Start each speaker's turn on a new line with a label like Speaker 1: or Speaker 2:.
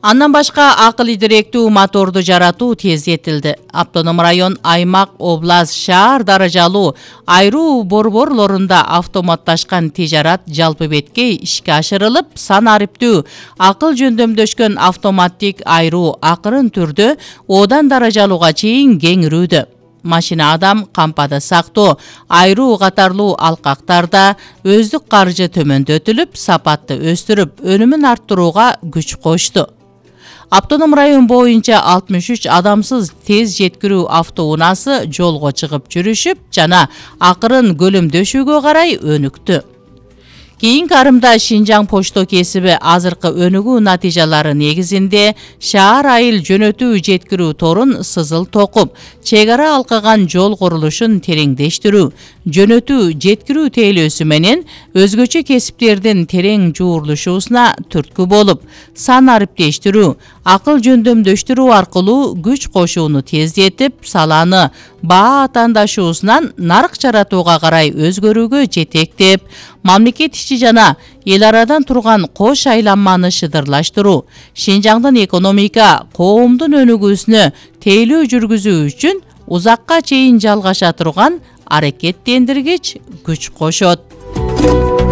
Speaker 1: Андан башка акыл идиректүү моторду жаратуу тездетилди. Автоном район, аймак, область, шаар даражалуу айруу борборлорунда автоматташкан тижарат жалпы беткей ишке ашырылып, сан ариптүү акыл жөндөмдөшкөн автоматтик айруу акырын түрдө одан даражалууга чейин кеңирүүдө. Машина адам, кампада сактоо, айруу катарлуу алкактарда өздүк каржы төмөндөтүлүп, сапатты өстүрүп, өнүмүн арттырууга күч кошту. Автоном район боюнча 63 адамсыз тез жеткирүү автоунаасы жолго чыгып жүрүшүп жана акырын көлөмдөшүүгө карай өнүктү. Кийинки арымда Шинжаң почто кесиби азыркы өнүгүү натыйжалары негизинде шаар айыл жөнөтүү жеткирүү торун сызыл токуп, чек ара алкаган жол курулушун тереңдештирүү, жөнөтүү жеткирүү тейлөөсү менен өзгөчө кесиптердин терең жуурулушуусуна түрткү болуп, сан ариптештирүү, акыл жөндөмдөштүрүү аркылуу күч кошууну тездетип, саланы баа атаандашуусунан нарк жаратууга карай өзгөрүүгө жетектеп, мамлекет ичи жана эл арадан турган кош айланманы шыдырлаштыруу, Шинжаңдын экономика, коомдун өнүгүүсүнө тейлөө жүргүзүү үчүн узакка чейин жалгаша турган аракеттендиргич күч кошот.